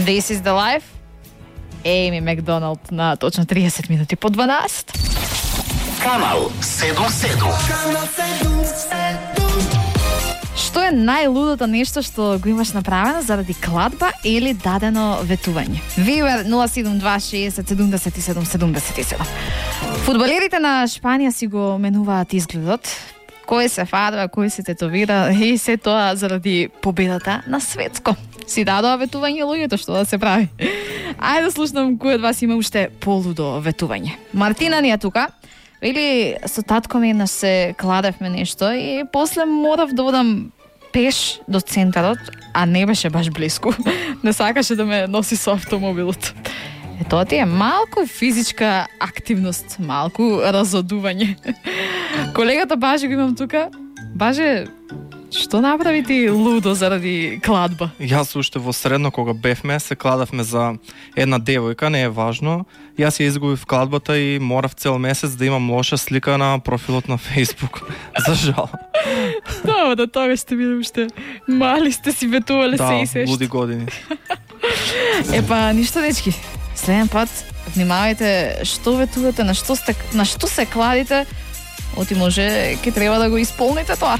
This is the life. Ейми Макдоналд на точно 30 минути по 12. Канал 77. Што е најлудото нешто што го имаш направено заради кладба или дадено ветување? Вивер 072607777. Фудбалерите на Шпанија си го менуваат изгледот. Кој се фадва, кој се тетовира и се тоа заради победата на светско. Си дадоа ветување луѓето, што да се прави. Ајде да слушнам кој од вас има уште полудо ветување. Мартина ни е тука. Вели, со татко ми еднаш се кладевме нешто и после морав да одам пеш до центарот, а не беше баш близко. Не сакаше да ме носи со автомобилот. Тоа ти е малку физичка активност, малку разодување. Колегата Баже го имам тука. Баже, што направи ти лудо заради кладба? Јас уште во средно кога бевме, се кладавме за една девојка, не е важно. Јас ја изгубив кладбата и морав цел месец да имам лоша слика на профилот на Facebook. За жал. Да, да тоа сте били уште мали, сте си ветувале се и се. Да, луди години. Епа, ништо дечки. Следен пат внимавајте што ветувате, на што се кладите, оти може ќе треба да го исполните тоа.